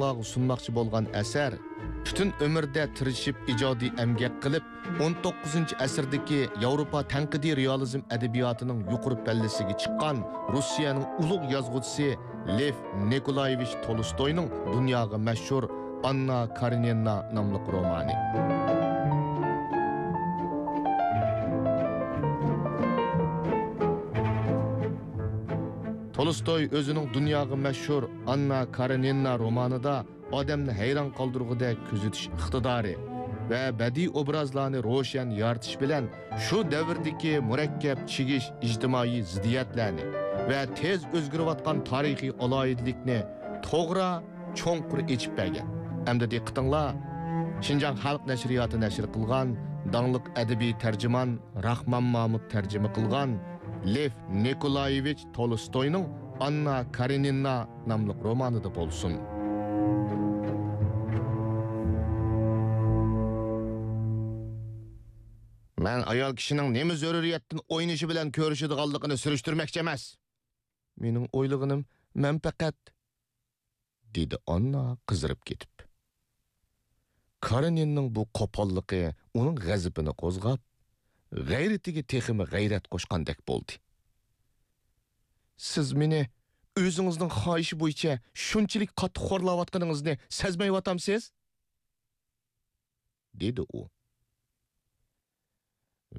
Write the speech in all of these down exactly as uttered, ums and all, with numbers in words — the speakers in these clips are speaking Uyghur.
ئوقۇغۇچىلارغا سۇنماقچى بولغان ئەسەر، پۈتۈن ئۆمرىدە تىرىشىپ ئىجادىي ئەمگەك قىلىپ، ئون توققۇزىنچى ئەسىردىكى ياۋروپا تەنقىدىي رېئالىزم ئەدەبىياتىنىڭ يۇقىرى پەللىسىگە چىققان روسىيەنىڭ ئۇلۇغ يازغۇچىسى لېف نىكولايېۋىچ تولستوينىڭ دۇنياغا مەشھۇر ئاننا كارېنىنا ناملىق رومانى. تولستوي ئۆزىنىڭ دۇنياغا مەشھۇر ئاننا كارېنىنا رومانىدا ئادەمنى ھەيران قالدۇرغۇدەك كۆزىتىش ئىقتىدارى ۋە بەدىئىي ئوبرازلارنى روشەن يارىتىش بىلەن شۇ دەۋردىكى مۇرەككەپ چىگىش ئىجتىمائىي زىددىيەتلەرنى ۋە تېز ئۆزگىرىۋاتقان تارىخىي ئالاھىدىلىكنى توغرا، چوڭقۇر ئېچىپ بەرگەن. ئەمدى دىققىتىڭلار شىنجاڭ خەلق نەشرىياتى نەشر قىلغان داڭلىق ئەدەبىي تەرجىمان راخمان مامۇت تەرجىمە قىلغان لېف نىكولايېۋىچ تولستوينىڭ ئاننا كارېنىنا ناملىق رومانىدا بولسۇن. مەن ئايال كىشىنىڭ نېمە زۆرۈرىيەتتىن ئوينىشى بىلەن كۆرۈشىدىغانلىقىنى سۈرۈشتۈرمەكچى ئەمەس. مېنىڭ ئويلىغىنىم، مەن پەقەت، دېدى ئاننا قىزىرىپ كېتىپ. كارېنىننىڭ بۇ قوپاللىقى ئۇنىڭ غەزىپىنى قوزغاپ، غەيرىتىگە تېخىمۇ غەيرەت قوشقاندەك بولدى. سىز مېنى ئۆزىڭىزنىڭ خاھىشى بويىچە شۇنچىلىك قاتتىق خورلاۋاتقىنىڭىزنى سەزمەيۋاتامسىز؟ دېدى ئۇ.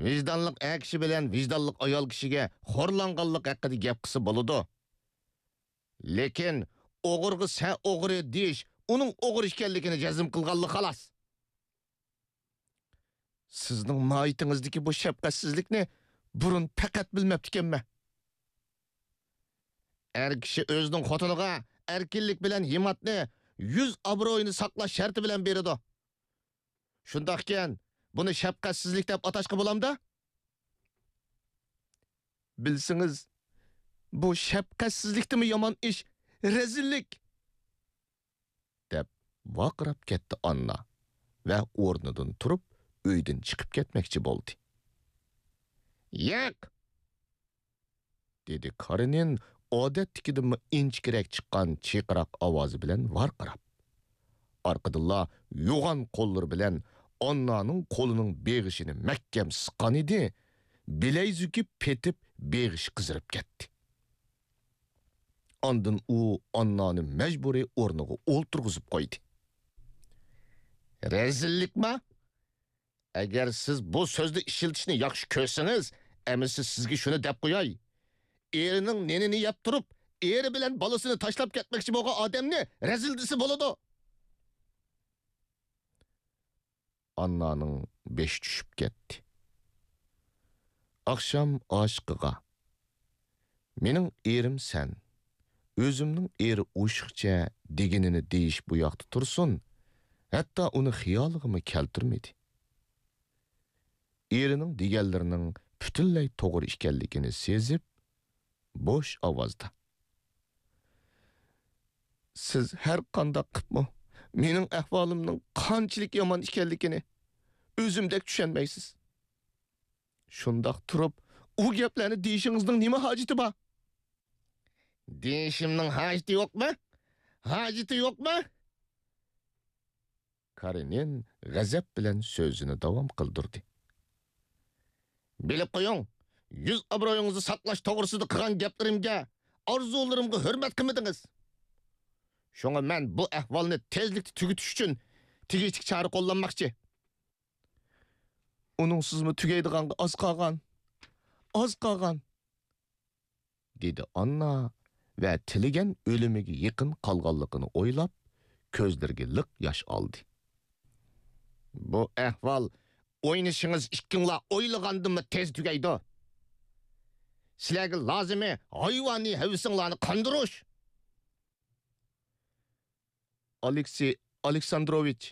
ۋىجدانلىق ئەر كىشى بىلەن ۋىجدانلىق ئايال كىشىگە خورلانغانلىق ھەققىدە گەپ قىلسا بولىدۇ. لېكىن ئوغرىغا سەن ئوغرى دېيىش ئۇنىڭ ئوغرى ئىكەنلىكىنى جەزم قىلغانلىق خالاس. سىزنىڭ ماھىيىتىڭىزدىكى بۇ شەپقەتسىزلىكنى بۇرۇن پەقەت بىلمەپتىكەنمەن. ئەر كىشى ئۆزىنىڭ خوتۇنىغا ئەركىنلىك بىلەن ھىممەتنى، يۈز ئابرۇيىنى ساقلاش شەرتى بىلەن بېرىدۇ. شۇنداقكەن، بۇنى شەپقەتسىزلىك دەپ ئاتاشقا بولامدا؟ بىلسىڭىز، بۇ شەپقەتسىزلىكتىنمۇ يامان ئىش، رەزىللىك! دەپ ۋارقىراپ كەتتى ئاننا ۋە ئورنىدىن تۇرۇپ، ئۆيدىن چىقىپ كەتمەكچى بولدى. ياق! دېدى كارېنىن ئادەتتىكىدىنمۇ ئىنچىكىرەك چىققان چىرقىراق ئاۋازى بىلەن ۋارقىراپ. ئارقىدىنلا يوغان قوللىرى بىلەن ئاننانىڭ قولىنىڭ بېغىشىنى مەھكەم سىققانىدى، بىلەيزۈكى پېتىپ، بېغىشى قىزىرىپ كەتتى. ئاندىن ئۇ ئاننانى مەجبۇرىي ئورنىغا ئولتۇرغۇزۇپ قويدى. رەزىللىكما؟ ئەگەر سىز بۇ سۆزنى ئىشلىتىشنى ياخشى كۆرسىڭىز، ئەمىسە سىزگە شۇنى دەپ قوياي. ئېرىنىڭ نېنىنى يەپ تۇرۇپ، ئېرى بىلەن بالىسىنى تاشلاپ كەتمەكچى بولغان ئادەمنى رەزىل دېسە بولىدۇ. ئاننانىڭ بېشى چۈشۈپ كەتتى. ئاخشام ئاشىقىغا، «مېنىڭ ئېرىم سەن، ئۆزۈمنىڭ ئېرى ئوشۇقچە» دېگىنىنى دېيىش بۇ ياقتا تۇرسۇن، ھەتتا ئۇنى خىيالىغىمۇ كەلتۈرمىدى. ئېرىنىڭ دېگەنلىرىنىڭ پۈتۈنلەي توغرا ئىكەنلىكىنى سېزىپ، بوش ئاۋازدا، «سىز ھەر قانداق قىپمۇ مېنىڭ ئەھۋالىمنىڭ قانچىلىك يامان ئىكەنلىكىنى ئۆزۈمدەك چۈشەنمەيسىز. شۇنداق تۇرۇپ، ئۇ گەپلەرنى دېيىشىڭىزنىڭ نېمە ھاجىتى بار؟» دېيىشىمنىڭ ھاجىتى يوقمۇ؟ ھاجىتى يوقمۇ؟ كارېنىن غەزەپ بىلەن سۆزىنى داۋام قىلدۇردى. بىلىپ قويۇڭ، يۈز ئابرۇيىڭىزنى ساقلاش توغرىسىدا قىلغان گەپلىرىمگە، ئارزۇلىرىمغا ھۆرمەت قىلمىدىڭىز. شۇڭا مەن بۇ ئەھۋالنى تېزلىكتە تۈگىتىش ئۈچۈن تېگىشلىك چارە قوللانماقچى. ئۇنىڭسىزمۇ تۈگەيدىغانغا ئاز قالغان. ئاز قالغان. دېدى ئاننا ۋە تىلىگەن ئۆلۈمىگە يېقىن قالغانلىقىنى ئويلاپ، كۆزلىرىگە لىق ياش ئالدى. بۇ ئەھۋال ئوينىشىڭىز ئىككىڭلار ئويلىغاندىنمۇ تېز تۈگەيدۇ. سىلەرگە لازىمى ھايۋانىي ھەۋىسىڭلارنى قاندۇرۇش. ئالېكسېي ئالېكساندروۋىچ،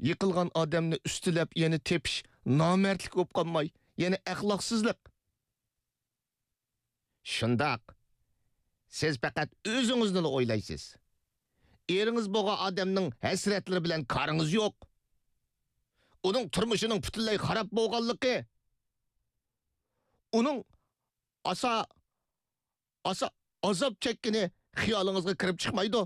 يىقىلغان ئادەمنى ئۈستىلەپ يەنە تېپىش نامەردلىك بولۇپ قالماي، يەنە ئەخلاقسىزلىق. شۇنداق. سىز پەقەت ئۆزىڭىزنىلا ئويلايسىز. ئېرىڭىز بولغان ئادەمنىڭ ھەسرەتلىرى بىلەن كارىڭىز يوق. ئۇنىڭ تۇرمۇشىنىڭ پۈتۈنلەي خاراب بولغانلىقى، ئۇنىڭ ئاسا، ئاسا ئازاب چەككىنى خىيالىڭىزغا كىرىپ چىقمايدۇ.